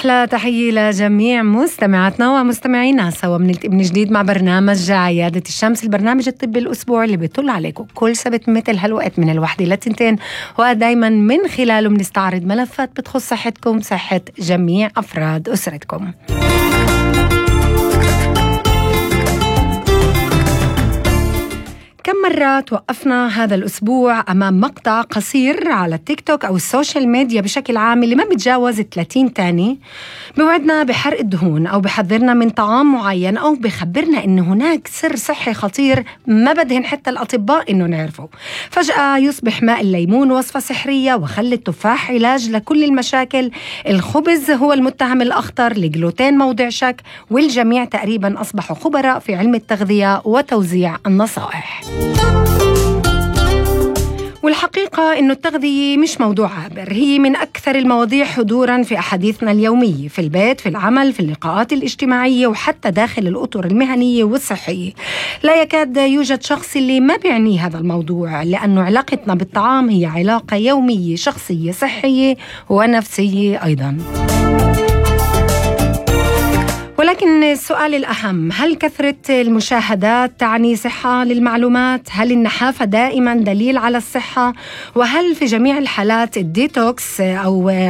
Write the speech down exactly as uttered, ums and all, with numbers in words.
أحلى تحية لجميع مستمعاتنا ومستمعينا، سوا بنلتقي من جديد مع برنامج عيادة الشمس، البرنامج الطبي الأسبوع اللي بيطل عليكم كل سبت مثل هالوقت من الوحدة للتنتين، ودايما من خلاله بنستعرض ملفات بتخص صحتكم صحة جميع أفراد أسرتكم. كم مرة توقفنا هذا الأسبوع أمام مقطع قصير على التيك توك أو السوشيال ميديا بشكل عام اللي ما بتجاوز ثلاثين ثانية، بوعدنا بحرق الدهون أو بحذرنا من طعام معين أو بخبرنا إنه هناك سر صحي خطير ما بدهن حتى الأطباء إنه نعرفه. فجأة يصبح ماء الليمون وصفة سحرية، وخل التفاح علاج لكل المشاكل، الخبز هو المتهم الأخطر، الجلوتين موضع شك، والجميع تقريبا أصبحوا خبراء في علم التغذية وتوزيع النصائح. والحقيقة إنه التغذية مش موضوع عابر، هي من أكثر المواضيع حضوراً في أحاديثنا اليومية، في البيت، في العمل، في اللقاءات الاجتماعية، وحتى داخل الأطر المهنية والصحية. لا يكاد يوجد شخص اللي ما بيعني هذا الموضوع، لأنه علاقتنا بالطعام هي علاقة يومية شخصية صحية ونفسية أيضاً. ولكن السؤال الأهم، هل كثرة المشاهدات تعني صحة للمعلومات؟ هل النحافة دائما دليل على الصحة؟ وهل في جميع الحالات الديتوكس أو